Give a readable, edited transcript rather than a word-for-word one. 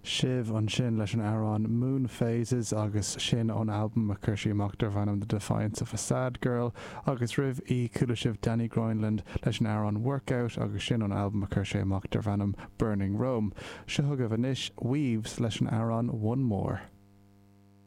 Shiv ansin leis an amhrán Moon Phases agus sin ón albam a chuir sí amach darb ainm The Defiance of a Sad Girl agus roimh í chuala sibh Danny Grineland leis an amhrán Workout agus sin ón albam a chuir sé amach darb ainm Burning Rome. Seo chugaibh anois Weaves leis an amhrán One More.